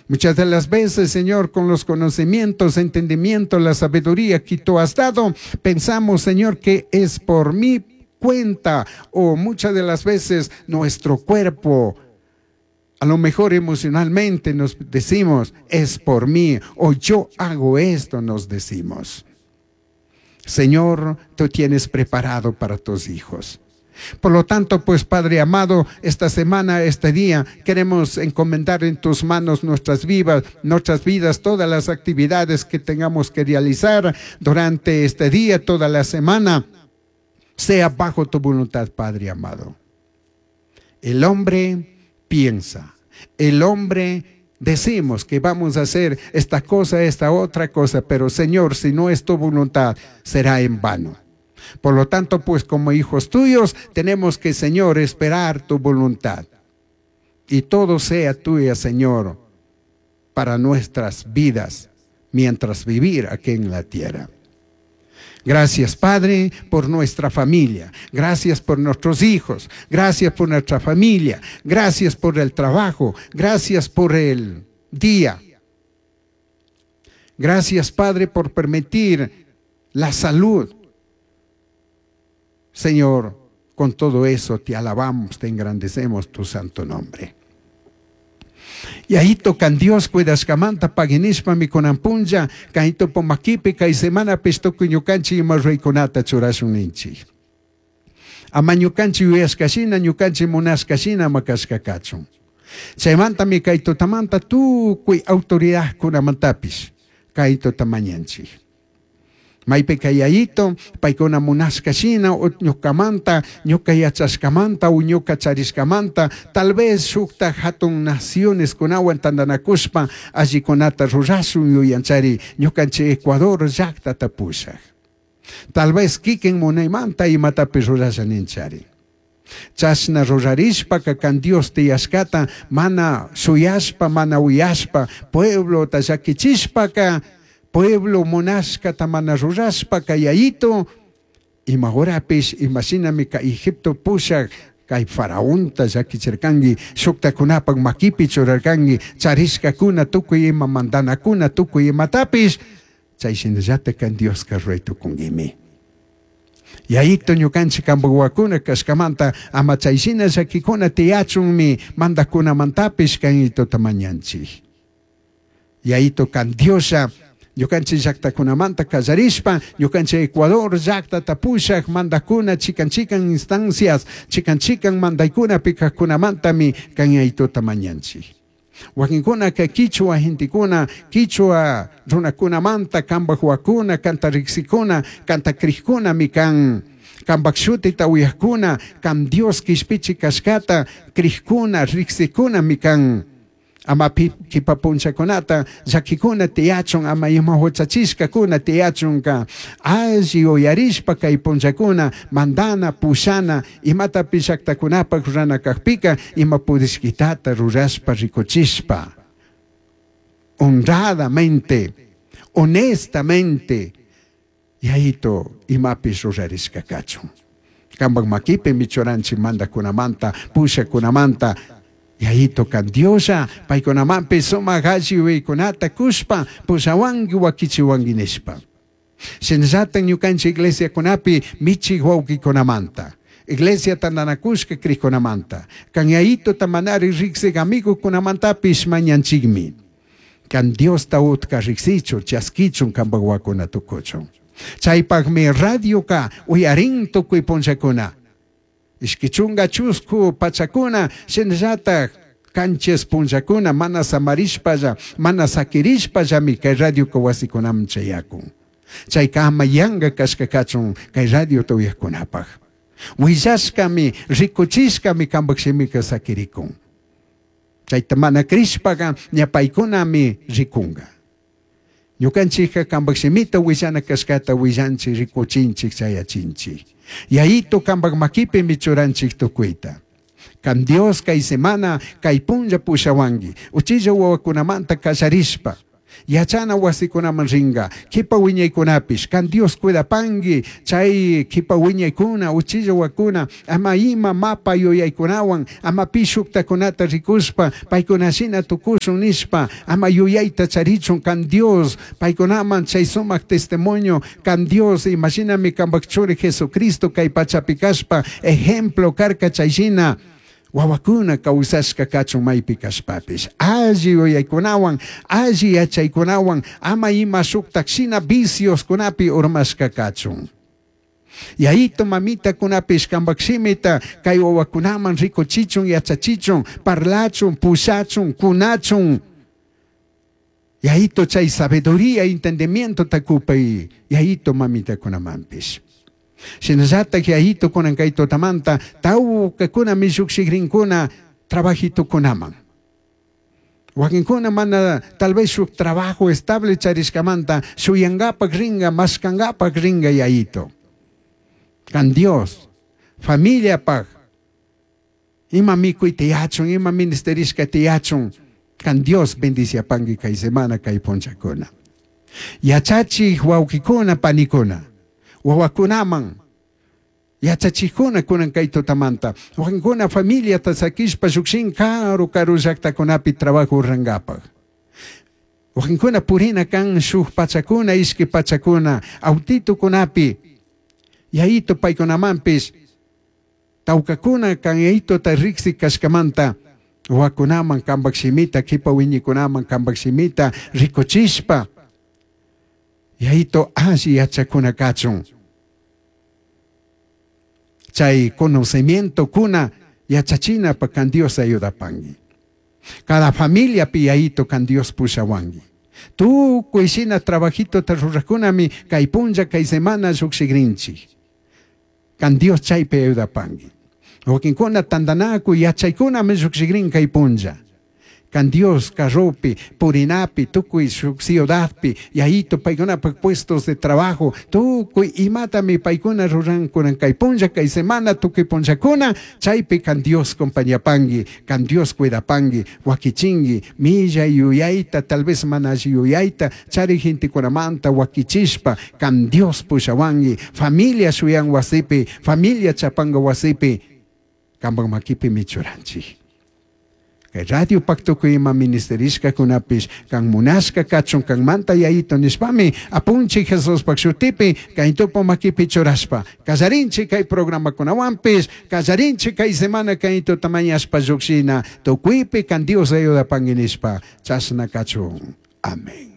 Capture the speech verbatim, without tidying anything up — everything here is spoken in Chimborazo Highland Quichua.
Muchas de las veces, Señor, con los conocimientos, entendimiento, la sabiduría que tú has dado, pensamos, Señor, que es por mi cuenta o muchas de las veces nuestro cuerpo, a lo mejor emocionalmente nos decimos, es por mí o yo hago esto, nos decimos. Señor, tú tienes preparado para tus hijos. Por lo tanto, pues Padre amado, esta semana, este día, queremos encomendar en tus manos nuestras vivas, nuestras vidas, todas las actividades que tengamos que realizar durante este día, toda la semana, sea bajo tu voluntad, Padre amado. El hombre piensa, el hombre decimos que vamos a hacer esta cosa, esta otra cosa, pero Señor, si no es tu voluntad, será en vano. Por lo tanto, pues como hijos tuyos, tenemos que, Señor, esperar tu voluntad. Y todo sea tuya, Señor, para nuestras vidas, mientras vivir aquí en la tierra. Gracias, Padre, por nuestra familia. Gracias por nuestros hijos. Gracias por nuestra familia. Gracias por el trabajo. Gracias por el día. Gracias, Padre, por permitir la salud. Señor, con todo eso te alabamos, te engrandecemos tu santo nombre. Yayito kan Dios cuidashkamanta pagui nishpami kunan punlla kaytopo makipi kay semanapish tukuy ñukanchik ima ruraykunata churashun ninchik. Ama ñukanchik yuyashka shina, ñukanchik munashka shina ama kashka kachun. Chaymantami kay tutamanta tukuy autoridadkunamantapish kay tuta mañanchik. Maypika yayito, paykuna munashka shina, o ñukamanta, ñuka yachashkamanta, o ñuka charishkamanta, tal vez shukta hatun naciones kunawan tantanakushpa allikunata rurashun yuyanchari ñukanchik Ecuador llaktata pushak. Tal vez kikin munaymanta imatapish rurasha ninchari. Chashna rurarishpaka kan Dios tiyashkata mana shuyashpa, mana uyashpa, pueblota llakichishpaka, pueblo munashkata mana rurashpaka yayito, ima horapish, imashinami ka Egipto pushak, kay faraonta llakichirkanki, shuktakunapak makipi churarkanki, charishkakuna tukuy ima mandanakuna tukuy imatapish, chay shinallata kan Dioska ruray tukunkimi. Yayito ñukanchik kanpak wawakuna kashkamanta ama chay shina llakikuna tiyachunmi mandakunamantapish kayitota mañanchik. Yayito kan Dioslla ñukanchik llaktakunamanta kallarishpa, ñukanchik Ecuador llaktata pushak mandakuna chikan chikan instancias, chikan chikan mandaykunapi kajkunamantami kan yayitota mañanchik. Wakinkunaka kichwa gentekuna, kichwa runakunamanta kanpak wawakuna, kanta riqsikuna, kanta crijkunami kan, kanpak shutita uyajkuna, kan Dios kishpichi kashkata crijkuna, riqsikunami kan. Ama kipa punchakunata llakikuna tiyachun, ama ima huchachishkakuna tiyachunka alli uyarishpa kay punchakuna mandana, pushana, imatapish llaktakunapak rurana kakpika ima pudishkitata rurashpa rikuchishpa honradamente, honestamente, yayito imapish rurarishka kachun. Kanpak makipi michuranchik mandakunamanta, pushakunamanta, Yayito kan Dioslla paykunamanpish sumak alli yuyaykunata kushpa pushawanki wakichiwanki nishpa. Shinallata ñukanchik iglesiakunapi michik wawkikunamanta, iglesia tantanakushka krikkunamanta, kan yayitota manari riksik amigukunamantapish mañanchikmi. Kan Diosta utka riksichun, chaskichun kanpak wawakuna tukuchun. Chaypakmi radioka uyarin tukuy punllakuna. Ishki chunga chusku pachakuna, shinallatak kanchis punllakuna mana samarishpalla, mana sakirishpallami kay radioka wasikunaman chayakun. Chayka ama yanka kashka kachun kay radiota uyajkunapak. Willashkami, rikuchishkami kanpak shimika sakirikun. Chayta mana krishpaka ña paykunami rikunga. Ñukanchikka kanpak shimita willana kashkata willanchik, rikuchinchik, chayachinchik. Yayito kanpak makipimi churanchik tukuyta. Kan Dios kay semana kay punlla pushawanki, uchilla wawakunamanta kallarishpa, Yachana wasikunaman ringa, kipa wiñaykunapish, kan Dios cuidapangi, chay kipa wiñaykuna, uchilla wakuna, ama ima mapa yuyaykunawan, ama pi shuktakunata rikushpa, paykuna shina tukushun nishpa, ama yuyayta charichun kan Dios, paykunaman chay sumak testimonio, kan Dios, imashinami kanpak churi Jesucristo kay pachapi kashpa, ejemplo karka chay shina, wawakuna kawsashka kachun maypi kashpapish, alli yuyaykunawan, alli yachaykunawan, ama ima shuktak shina vicioskunapi urmashka kachun. Yayito mamitakunapish kanpak shimita kay wawakunaman rikuchichun, yachachichun, parlachun, pushachun, kunachun. Yayito chay sabiduría, entendimiento takupay, yayito mamitakunamanpish. Shinallatak yayito kunan kay tutamanta tawkakuna lluqshikrinkuna trabajitukunaman. Wakinkuna mana tal vez shuk trabajo estable charishkamanta shuyangapak ringa, mashkangapak ringa yayito. Kan Dios, familiapak, ima mikuy tiyachun, ima ministerishka tiyachun, kan Dios bendiciapangi kay semana kay punchakuna. Yachachik wawkikuna panikuna, wawakunaman, yachachikuna kunan kay tutamanta, wakinkuna familiata sakishpa llukshin karu karu llaktakunapi trabajo rurangapak. Wakinkuna purina kan shuk pachakuna, ishki pachakuna, autitukunapi, yayito paykunamanpish, tawkakuna kan yayitota riksi kashkamanta, wawakunaman kanpak shimita, kipa wiñikunaman kanpak shimita rikuchishpa, yayito alli yachakuna kachun. Chay conocimiento kuna yachachina pa kan Dios ayudapangi. Cada familia pi yayito kan Dios pushawangi. Tukuy shina trabajito ta rurakunami kay punlla kay semana llukshikrinchik. Kan Dios chaypi ayudapangi. Wakinkuna tandanakuy yachaykunami llukshikrin kay punlla. Kan Dios carropi, purinapi, tukuy shuk ciudadpi, yayito paykunapak puestos de trabajo, tukuy imatami paykuna rurankunan kay punlla, kay semana, tukuy punllakuna, chaypi kan Dios compañapangi, kan Dios cuidapangi, wakichingi, milla yuyayta, tal vez mana alli yuyayta, chari gentekunamanta wakichishpa, kan Dios pushawangi, familia shuyan wasipi, familia chapanga wasipi, kanpak makipi michuranchik. Kay radio pacto ima ministerishka kunapish kan munashka kachun kan manta yayito nishpami apunchi Jesus pak shutipi kay tupo makipi churashpa kallarinchi kay programa kunawanpish kallarinchi kay semana kay tutamañashpa llukshina tukuypi kan Dios ayudapangi nishpa chashna kachun. Amén.